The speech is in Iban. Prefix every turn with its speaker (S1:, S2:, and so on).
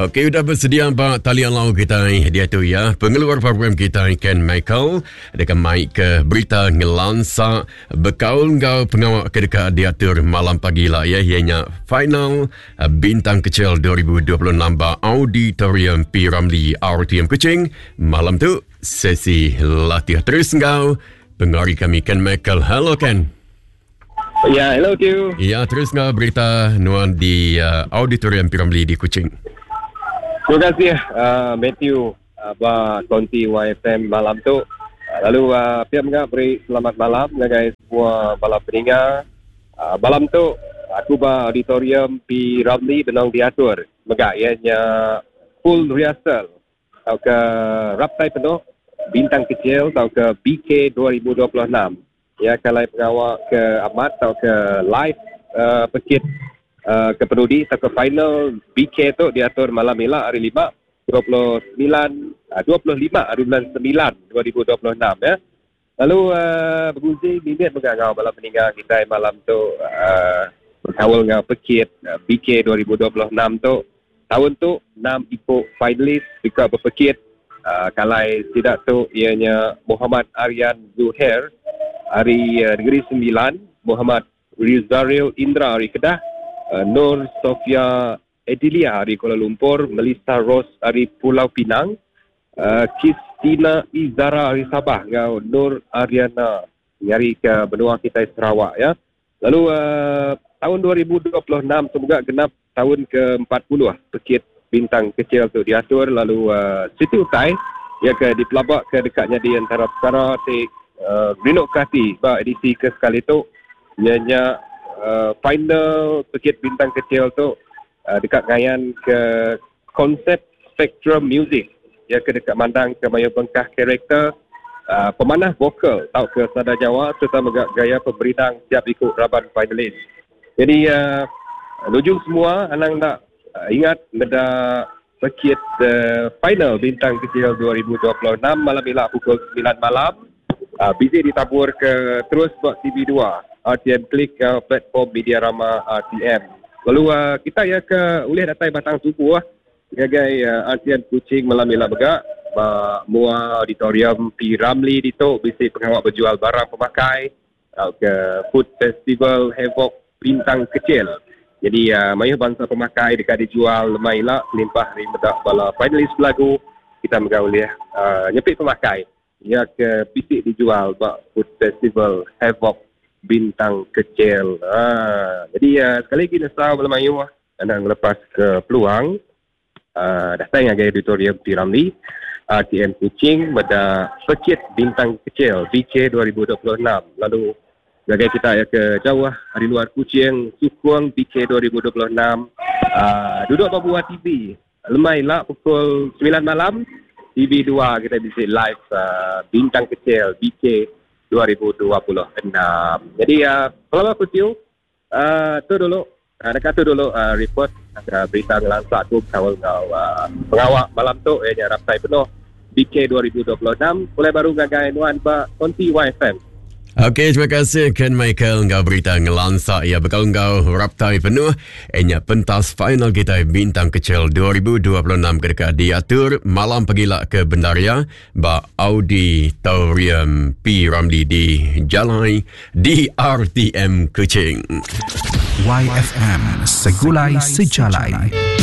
S1: Okey, udah bersedia ba talian lau kita dia tu ya. Pengeluar program kita Ken Michael deka mai ke berita ngelansa bekaul enggau pengawa ke deka diatur malam pagi lah ya, ianya final eh, Bintang Kecil 2026 ba Auditorium P. Ramlee RTM Kuching. Malam tu sesi latih terus enggau pengari kami Ken Michael. Hello Ken.
S2: Ya, hello Q.
S1: Ya, terus ngah berita nuan di uh, Auditorium Piramli di Kuching.
S2: Terima kasih uh, Matthew uh, ba konti YFM malam tu. Uh, lalu uh, pihak menga beri selamat malam ngagai semua bala peninga. Uh, malam tu aku ba Auditorium P Ramli benong diatur. Mega ianya full rehearsal tauka raptai penuh bintang kecil tauka BK 2026. Iya ke alai pengawa ke amat tauka live uh, pekit uh, ke penudi tauka final BK tu diatur malam ila hari lima 29 uh, 25 hari bulan 9 2026 ya. Lalu uh, begunsi mimit mega enggau bala peninga kitai malam tu uh, bekaul enggau pekit uh, BK 2026 tu. Taun tu enam iku finalis deka bepekit uh, kalai sida tu iya nya Muhammad Aryan Zuhair ari uh, Negeri Sembilan, Muhammad Rizaril Indra ari Kedah, uh, Nur Sofia Edilia ari Kuala Lumpur, Melissa Rose ari Pulau Pinang, uh, Kistina Izara ari Sabah enggau Nur Ariana ngari ke benua kitai Sarawak ya. Lalu uh, tahun 2026 tu mega genap tahun ke-40 pekit bintang kecil tu diatur lalu uh, siti utai ya ke dipelaba ke deka nyadi antara perkara ti uh, rindu ke ati ba edisi ke sekali tu iya nya uh, final pekit bintang kecil tu uh, deka ngayan ke konsep spektrum muzik iya ke deka mandang ke mayuh bengkah karakter uh, pemanah vokal tauka sada nyawa sereta mega gaya pemerindang tiap iku raban finalis. Jadi uh, nuju semua anang enda uh, ingat meda pekit uh, final Bintang Kecil 2026 malam ila pukul 9 malam. Uh, bisi ditabur ke terus ba TV2 RTM Klik uh, platform media rama RTM. Lalu uh, kita ya ke ulih datai batang subuh ngagai uh, RTM Kuching malam ila mega ba mua auditorium P Ramlee ditu bisi pengawa berjual barang pemakai tauka food festival Havoc Bintang Kecil. Jadi uh, mayuh bangsa pemakai deka dijual lemai ila kelimpah ari meda bala finalis belagu kita mega ulih uh, nyepi pemakai Iya ke bisi dijual ba Food Festival Havoc Bintang Kecil. Ha, jadi uh, sekali lagi nesau bala mayuh anang ngelepas ke peluang uh, datang ngagai auditorium P. Ramlee RTM Kuching meda Pekit Bintang Kecil BK 2026. Lalu ngagai kita ya ke jauh ari luar Kuching sukung BK 2026 uh, duduk ba buah TV Lemai ila pukul 9 malam TV2 kita bisi live uh, Bintang Kecil BK 2026. Jadi uh, kalau aku tiu uh, tu dulu uh, dekat tu dulu uh, report uh, berita ngelansa aku kaul enggau uh, pengawak malam tu ianya raptai penuh BK 2026 mulai baru ngagai nuan ba konti YFM.
S1: Okey, terima kasih Ken Michael enggau berita ngelansa ia bekal enggau raptai penuh enya pentas final kita Bintang Kecil 2026 ke deka diatur malam pagila ke Bendaria ba Auditorium P Ramlee di Jalai DRTM Kuching.
S3: YFM Segulai Sejalai.